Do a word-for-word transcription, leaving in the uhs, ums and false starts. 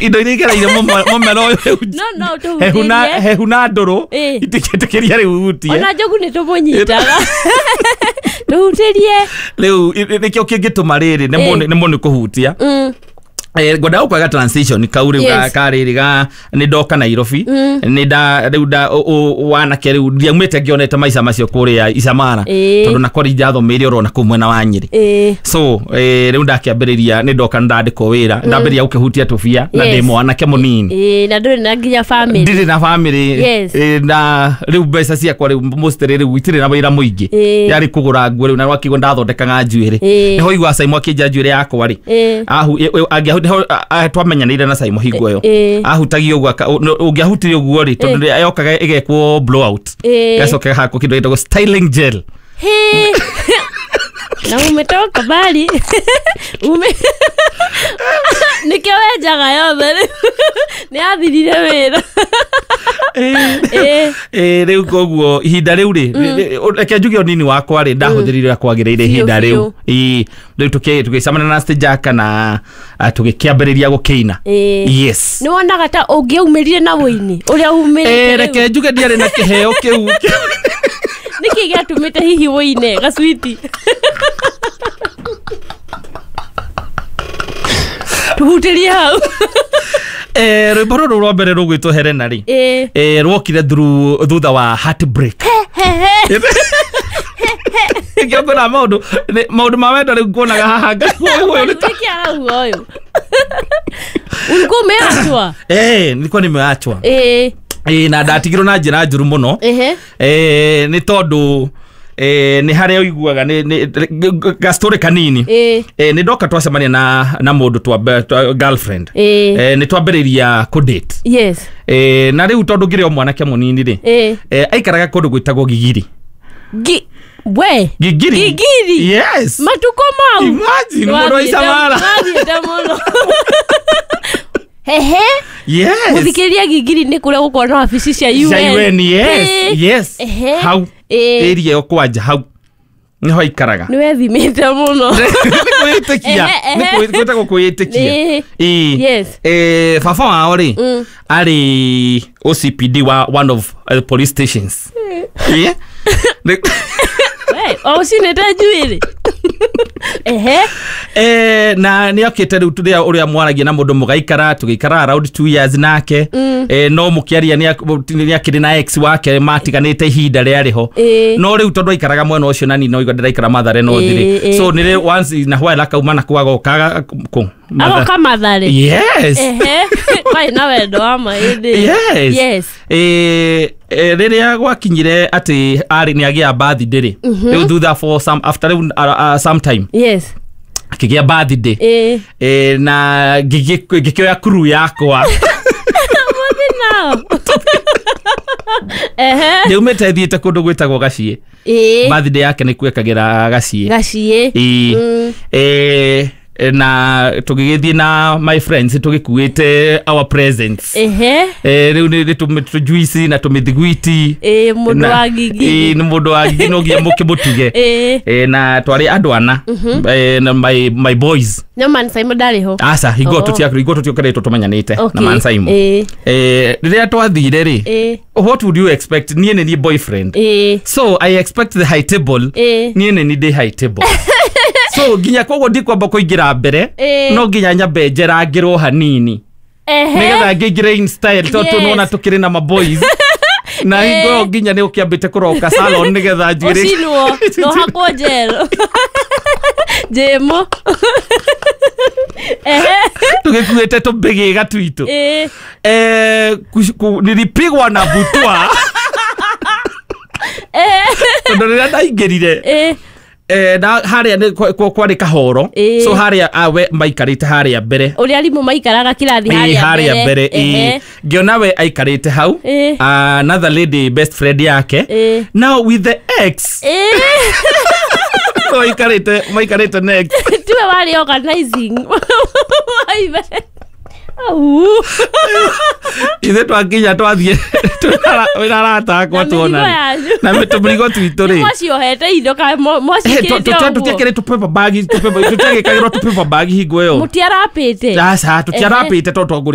Indo iria igereire mũmero ũyũ No no hehu na tũhutĩrie. Hehu na ndũrũ Ĩ. itingĩtĩkĩria rĩu hutie. Ona njogu nĩ tũmũnyitaga. Tũhutĩrie. Rĩu nĩkĩo kĩngĩtũma rĩrĩ Ĩ. nĩ mũndũ kũhutia. Mm. Eh, ngwendaga gũkwaga transition kau rĩu ga- Yes. ka rĩrĩ ga nĩ ndoka Nairobi, nĩ nda rĩu nda ũ- ũ- wanake rĩu ndiaumĩte ngĩonete maica macio kũrĩa Isamara, Ĩ. tondũ na kwari ndathomeire orona kũu mwena wa Nyĩrĩ. Ĩ. So eh, rĩu ndakĩambĩrĩria nĩ ndoka ndandĩkwo wĩra, ndambĩrĩria gũkĩhutia tũbia na Yes. ndĩ mwanake mũnini. Ĩ, na ndũrĩ na nginya family. Ndirĩ na family. Yes. Eh, na rĩu mbeca ciakwa rĩu mostly rĩu itirĩ na wĩra mũingĩ. Ĩ. Yarĩ kũgũra nguo rĩu na rwakĩguo ndathondekaga njuĩrĩ. Ĩ. Nĩho igua Saimo akĩnja njuĩrĩ yakwa rĩ. Ĩ. Ahu ĩ- ĩ- angĩahu- nĩho, a- a- twamenyanĩire na Saimo hingo ĩyo. Ĩ. Ahutagia ũguo aka- ũ- ũngĩahutirie ũguo rĩ, tondũ mm. yokaga ĩgekwo blowout, Ĩ. gacoka gahakwo kĩndũ gĩtagwo styling gel. He. Na umetoka mbali. Ume nĩkĩo wenjaga yothe nĩ athirire wĩra. Ĩ. Ĩ, rĩu koguo ihinda rĩu rĩ, reke njuge ũnini wakwa rĩ ndahũthĩrire ũrĩa kwagĩrĩire ihinda Biũ, rĩu. biũ. Ĩ, rĩu tũkĩ- tũgĩcemania na Stejaka na ah, tũgĩkĩambĩrĩria gũkĩina. Ĩ. Yes. Nĩ wonaga ta ũngĩaumĩrire na wũini ũrĩa umĩrĩte Eh, rĩu? Reke njuge ndiarĩ na kĩheo kĩu. Nĩkĩ gĩatũmĩte hihi wũine gacwiti? Tuhutĩrie hau. Eh, rwĩmbo rũrũ rwa mbere rũgwĩtwo Helena rĩ, Ĩ. eh, rwokire through thutha wa heartbreak. Nĩkĩo ngona maũndũ nĩ- maũndũ ma wendo rĩu nguonaga haha ngaigua ũyũ nĩ ta Nĩkĩ arauga ũyũ? Ulikuwa umeachwa? Eh, nilikuwa nimeachwa. Ĩ. Eh, na ndatigirwo na njĩra njũru mũno. Ehe. Eh, nĩ tondũ eh, nĩ harĩa ũiguaga nĩ- nĩ gastori kanini. Ĩ. Eh, nĩ ndoka twacemania na na mũndũ twambe twa, girlfriend. Ĩ. Eh, nĩ twambĩrĩria kũdate. Yes. Eh, na rĩu tondũ ngĩrĩ o mwanake mũnini rĩ, Ĩ. eh, aikaraga kũndũ gwĩtagwo Gigiri. Gi we. Gigiri. Gigiri. Yes. Matukũ mau. Imagine mũndũ wa Isamara. Wathiĩte mũno. Hehe. Yes. Mũthikĩrĩria, Gigiri nĩ kũrĩa gũkorwo na wabici cia U N. Cia U N, yes. Ĩ. Yes. Ehe. Hau. Ĩ. Area ĩyo kwanja hau nĩho aikaraga. Nĩ wethimĩte mũno. Nĩ kwĩĩtĩkia. Ehe, Nĩ ehe. kwĩ- gwĩtagwo kwĩĩtĩkia. Ĩ. Ĩ. Yes. Eh, baba wao rĩ Mm. arĩ O C P D wa one of uh, police stations. Yeah. Nĩ- We, o ũcinĩte njuĩrĩ. Ehe. Eh, na nä okä te rä u å rä a mwaragia na må ndå må gaikara tå gä ikara around two years nake. mm. eh, no må kä aria nä akä rä na ex wake matiganä te ihinda rä arä ho. Ĩ. No rä u tondå aikaraga mwena å cio na ni no igua ndĩraikara Mathare no Ĩ, thirĩ. ĩ. So nä rä once in a while akauma na kwagokaga kå. Agoka Mathare. Yes. Ehe. Kwarĩ na wendo wa ma ĩndĩ. Yes. Yes. Eh, eh, rĩrĩa gwakinyire atĩ arĩ nĩ agĩa birthday rĩ, rĩu thutha for some after rĩu uh, uh, some time Yes. akĩgĩa birthday. Ĩ. Eh, na ngĩgĩ- ngĩkĩoya crew yakwa. Mũthi nao. Ehe. Ndiaumĩte thiĩte kũndũ gwĩtagwo Gaciĩ. Ĩ. Birthday yake nĩ kwekagĩra Gaciĩ. Gaciĩ. Ĩ. Mm. Eh, na tũgĩgĩthiĩ na my friends tũgĩkuĩte our presents. Ehe. Eh, rĩu nĩ tũjuici na tũmĩthiguiti. Ĩ, mũndũ Na- wa Gigiri. Ĩ, nĩ mũndũ wa Gigiri no nginya mũkĩmũtuge. Ĩ. Eh, na twarĩ andũ ana. Eh, na my, my boys. No Man Simon ndarĩ ho? Aca, hingo Oh. tũtia hingo tũtiokoretwo tũmenyanĩte na Okay. Man Simon. Ĩ. Eh, rĩrĩa twathire rĩ, Ĩ. what would you expect? Niĩ nĩ niĩ boyfriend, Ĩ. so I expect the high table. Ĩ. Niĩ nĩ niĩ ndĩ high table, so nginya koguo ndikwamba kũingĩra mbere. Ĩ. No nginya nyambe njerangĩrwo hanini Ehe. nĩgetha ngĩingĩre in style tondũ Yes. nĩwona tũkĩrĩ na maboys na hingo ĩyo nginya nĩ ũkĩambĩte kũroka salon nĩgetha njuĩrĩ Ũcinwo no hakwo njero njĩmũ. Ehe. Tũgĩkuĩte tũmbĩgĩga twitũ. Ĩ. Eh, ku- ku- nilipigwa na butwa Ehe. tondũ rĩrĩa ndaingĩrire, Ĩ. eh, na harĩa nĩ kwa- kwa- kwarĩ kahoro. Ĩ. So harĩa awe maikarĩte harĩa mbere. Ũrĩa arimũ maikaraga kĩrathi. Ĩ, Harĩa harĩa mbere, ĩ. Ehe. Ngĩona we aikarĩte hau. Ĩ. Another lady best friend yake. Ĩ. Now with the ex. Ĩ. Maikarĩte maikarĩte next. Tiwe warĩ organizing wa event. Au. Ithuĩ twakinya twathiĩ wĩna arata akwa Na mĩrigo tuona yanyu. Na tũmĩrigo twitũ rĩ. Mwaciohete indo kana mwacikĩrĩte ũguo? Tũtiekĩrĩ tũ paper bag, tũtiagĩkagĩrwo tũ paper bag hingo ĩyo. Mũtiarapĩte? Aca, tũtiarapĩte tondũ twagũrĩte.